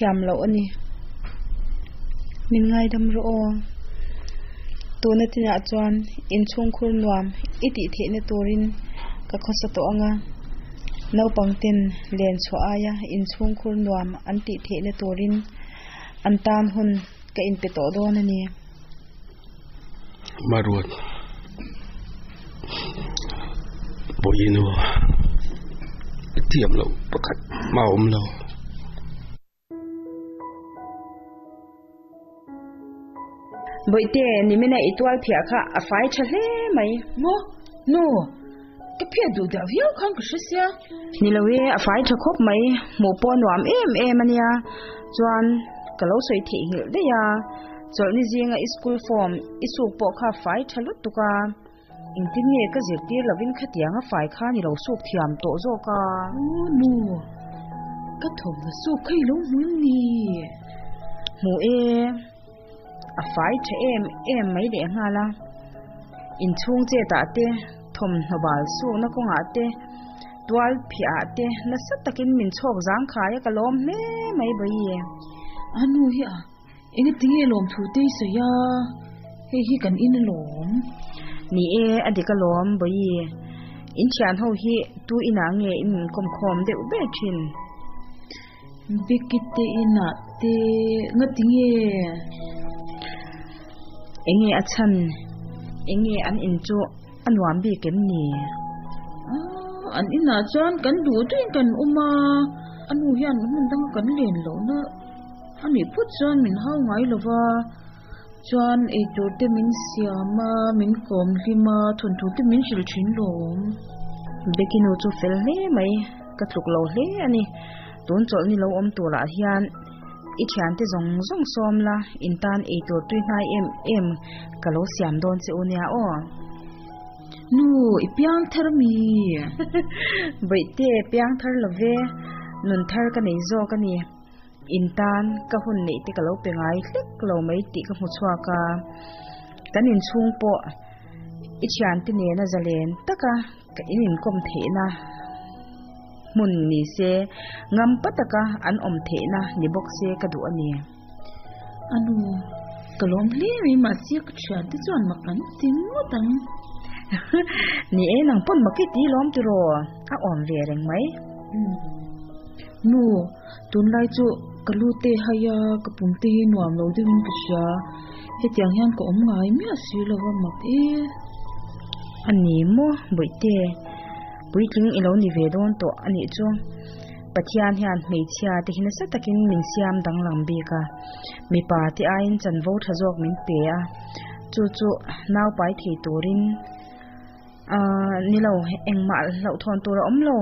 Thiam loh a ni. Min ngaidam rawh aw. Tuna tinah chuan inchhungkhur nuam i tih theihna turin ka khawsa tawh ang a. Naupang ten len chhuah aia inchhungkhur nuam an tih theihna turin an tan hun ka inpe tawh dawn a ni. Maruat Vawiinu thiam loh pakhat mah a awm lo. Bawihte, nimina i tual phiah kha a fai tha hle mai. Maw? Nu, ka phiah duh dah viau khan ka hre sia. Ni lo e, a fai tha khawp mai. Hmuh pawh a nuam em em a nia. Chuan, ka lo sawi theihnghilh daih a. Chawlhni zinga i school form i suk pawh kha fai tha lutuk a. Engtin nge ka zirtir lovin khatiang a fai khan i lo suk thiam tawh zawk a? Aw nu, ka thawmhnaw suk kha i lo hmu em ni? Hmu e, a fai tha em em mai leh nghal a. Inchhung chetah te, thawmhnaw bal sukna kawngah te, tual phiah ah te nasa takin min chhawk zangkhai a ka lawm hle mai bawi. A nu hi a. Enge tinge lawm thu te i sawi a, hei hi kan in alawm. Ni e, a dik alawm Bawi. In thian ho hi tu inah nge in inkawm khawm deuh ber thin? Becky te inah te nga tinge? Enge a chhan? Enge an in chu a nuam bik em ni? Ah, an inah chuan kan duh duhin kan awm a, a nu hian hmun danga kan len lohna. A nih phawt chuan min hau ngai lo va, chuan eitur te min siam a, min kawm hlim a, thawnthu te min hrilh thin lawm. Becky nu chu fel hle mai, ka tluk lo hle a ni. Tun chawlhni lo awm turah hian i thiante zawng zawng sawm la, in tan eitur tui hnai em em ka lo siam dawn che u nia aw. Nu, i piang thar mi? Bawihte, piang thar lo ve, nun thar ka nei zawk a ni. In tan ka hun neih te ka lo pe ngai hlek lo mai tih ka hmu chhuak a, kan inchhung pawh i thiante nena zalen taka ka in inkawm theihna hmun ni se, ngam pa taka an awm theihna ni bawk se ka duh a ni. A nu, ka lawm hle mai mahse ka thiante chuan mak an ti ngawt ang. Ni e, nang pawn mak i ti lawm tiraw? A awm ve reng mai. Nu, tunlai chu ka lu te hai a, ka pum te hi nuam lo deuhin ka hria. Hetiang hian ka awm ngai miah si lo va mak e. A ni maw, Bawihte? Puitling i lo ni ve dawn tawh a nih chu. Pathian hian hmeichhia te hi nasa takin min siam danglam bik a, mipa te aiin chanvo tha zawk min pe a, chu chu naupai thei turin. Ahh ni lo, engmah hlauhthawn tur a awm lo.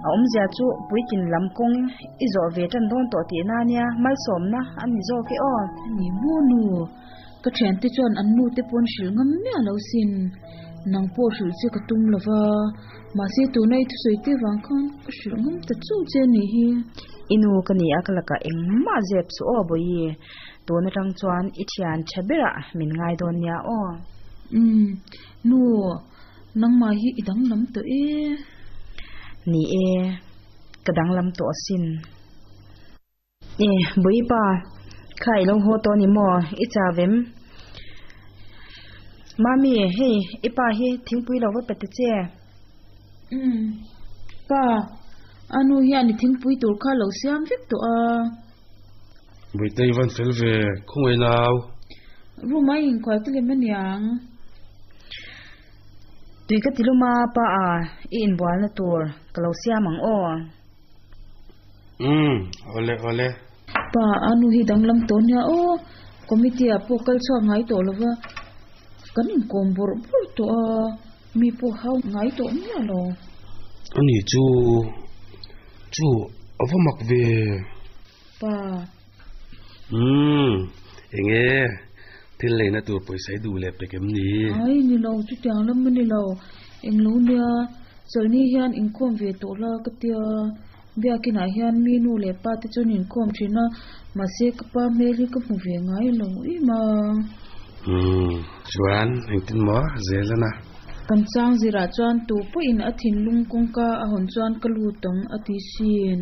A awmzia chu puitlin lam kawng i zawh ve tan dawn tawh tihna a nia, malsawmna a ni zawk e aw. A ni maw nu? Ka thiante chuan an nu te pawn hrilh ngam miah lo sin. Nang pawh hrilh che ka tum lo va, mahse tuna i thusawi te vang khan ka hrilh ngam ta chauh che a nih hi. I nu ka ni a, ka lakah engmah zep suh aw Bawihi. Tun atang chuan i thian tha berah min ngai dawn nia aw. Umm. Nu, nangmah hi i danglam tawh e. Ni e, ka danglam tawh asin. E, Bawipa, kha i lo haw tawh a ni maw? I chau em? Mami, hei, i pa hi thingpui lo va pe ta che. Umm, pa, a nu hian i thingpui tur kha lo siam vek tawh a. Bawihte i van fel ve, khawngaih nau. Room a inkhual te lem aniang. Tui ka ti lum a, pa a, i inbualna tur ka lo siam ang aw. Umm, awle awle. Pa a nu hi danglam tawh nia aw, committee ah pawh kal chhuak ngai tawh lova, kan inkawm bawrh bawrh tawh a, mi pawh hau ngai tawh miah lo. Ani chu, chu a va mak ve. Pa. Umm, enge thil leina tur pawisa i duh leh pek em ni? Ai, ni lo, chutiang lam a ni lo. Englo nia, chawlhni hian inkhawm ve tawh la ka tia. Biakinah hian mi nu leh pa te chuan inkhawm thin a, mahse ka pa hmel hi ka hmu ve ngai lo em a. Umm, chuan engtin maw zel ana? Kan chang zirah chuan tu pawhin a thinlung kawngka a hawn chuan ka lut ang a ti sin.